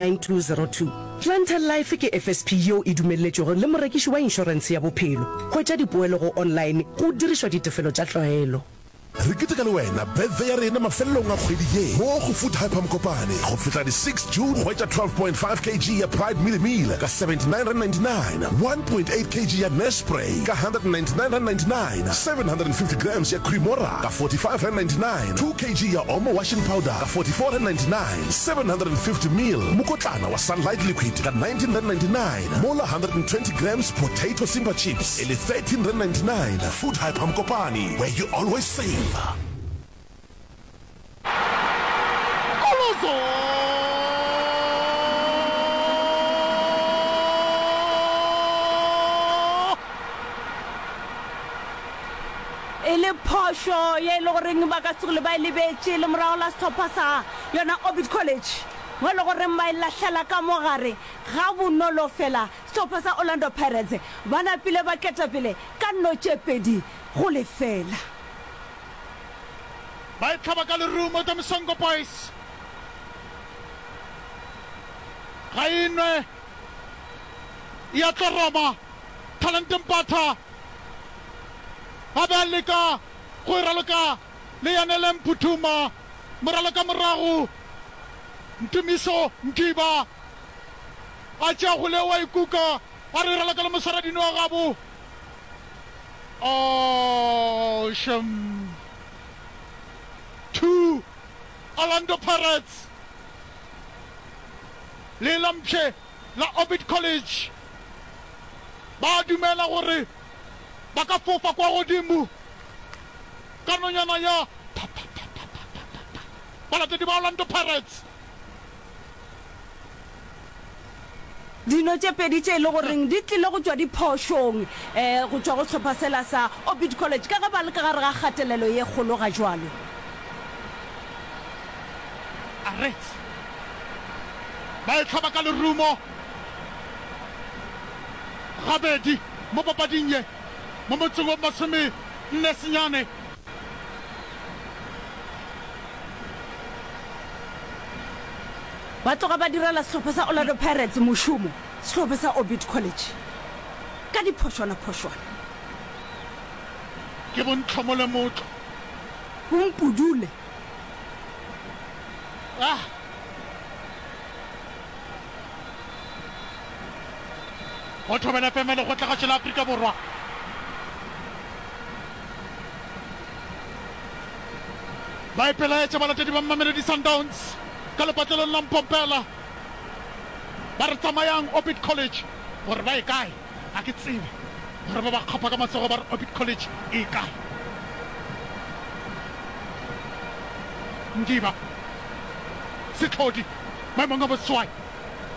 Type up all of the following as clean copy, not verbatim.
9202. Clientele Life ke FSP yeo e dumelletšwego le morekiši wa inšorentshe ya bophelo. Hwetša dipoelo go online go dirišwa ditefelo tša tlwaelo. Re keteka le wena birthday ya rena mafelelong a kgwedi ye mo go Food Hyper Mokopane go fihla di 6 June. Hwetša 12.5 kg ya Pride Mealie Meal ka R79.99, 1.8 kg ya Nespray ka R199.99, 750 grams ya Cremora ka R45.99, 2 kg ya Omo Washing Powder ka R44.99. 750 mil mokotlana wa Sunlight Liquid ka R19.99 mola 120 grams Potato Simba Chips e le R13.99. Food Hyper Mokopane, where you always save. Kolozo! E le phošo ye e le goreng ba ka se tsogile ba e lebetše le morago la sehlopha sa yona Orbit College mo e le goreng ba e lahlela ka mo gare ga bonolo fela. Sehlopha sa Orlando Pirates ba napile ba ketapele ka nno tše 2 go lefela. Ba e hlaba ka lerumo tša Msongo Boys. Ga e nwe ya tloroma. Talente Mpatha a be a leka go e raloka le Yanele Mphuthuma, moraloka morago Ntumiso Mgiba a tšea kgole wa ikuka a re e raloka le moswaradino wa gabo. Oh, shem. 2 Orlando Pirates le Lampshe la Orbit College ba dumela gore ba ka fofa kwa godimo ka nonyana ya pha-pha-pha-pha-pha-pha. Balatedi ba Orlando Pirates. Dino tše pedi tše e le goreng di tlile go tšwa diphošong go tšwa go sehlopha sela sa Orbit College ka ge ba le ka gare ga kgatelelo ye kgolo ga jwalo. Arets ba e hlaba ka lerumo gabedi mo papading ye mo motseng wa 49. Ba tloga ba direla sehlopha sa Orlando Pirates mošomo, sehlopha sa Orbit College ka diphošwana-phošwana. Ke bontlhomole motlo. Bompudule. Ah! Go Thobela FM Lekgotlagašo la Afrika Borwa. Ba ipelaetša balatedi ba Mamelodi Sundowns ka lepatlelong la Mpompela. Ba re tsamayang Orbit College gore ba ye kae ga ke tsebe. Gore ba ba kgapha ka matsogo ba re Orbit College e kae. Ndiba Setlhodi maemong a boseswai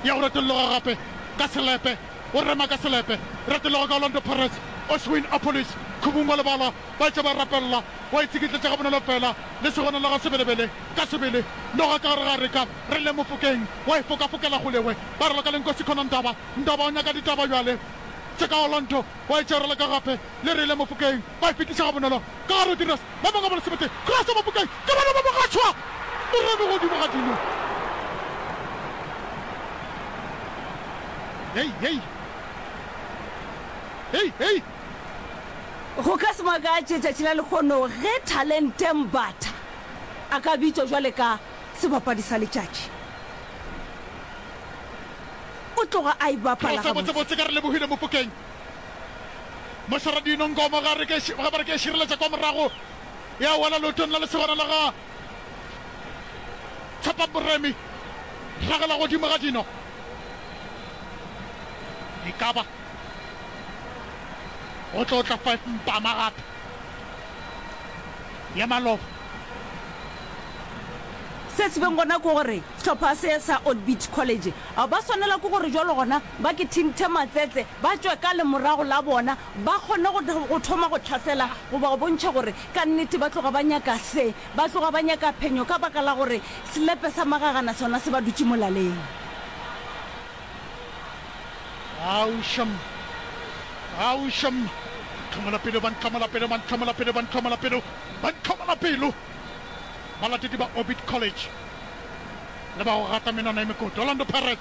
ya go retolloga gape ka selepe o rema ka selepe retologa ka Orlando Pirates Oswin Appollis khubung wa lebala ba etša ba rapella wa itsikitletša gabonolo fela le segona la ga Sebelebele ka sebele noga ka gare ga reka re le Mofokeng wa e fokafokela kgolewe ba raloka le Nkosi Khona Ndaba Ndaba o nyaka ditaba bjale tše ka Orlando wa e tšerela ka gape le re le Mofokeng ba e fetiša gabonolo ka gare Rodriguez ba bangwe ba lesomete Cross Mofokeng ke bona ba mogatšhwa Moremi godimo ga dino Hei hei hei hei. Go ka se makatše tšatši la lehono ge Thalente Mbatha a ka bitšwa bjale ka sebapadi sa letšatši. O tloga a e bapala Cross gabotse. botsebotse ka re lebohile Mofokeng. Mošoradino Nkomo ga re ke ga ba re ke šireletša kwa morago ya wela leotong la lesogana la ga Tshepang Moremi ragela godimo ga dino. E ka ba go tlo tla 5 mpama gape ya maloba. Se se beng gona ke gore sehlopha se sa Orbit College ba swanela ke gore jwalo gona ba ke thinthe matsetse ba tšwe ka lemorago la bona ba kgone go go thoma go hlasela goba go bontšha gore ka nnete ba tloga ba nyaka se ba tloga ba nyaka phenyo ka baka la gore selepe sa magagana sona se ba dutše molaleng. Aušam, aušam, ntlhomola pelo, ba ntlhomola pelo, ba ntlhomola pelo, ba ntlhomola pelo, ba ntlhomola pelo, balatedi ba Orbit College. Le ba go gata menwana e mekoto. Orlando Pirates.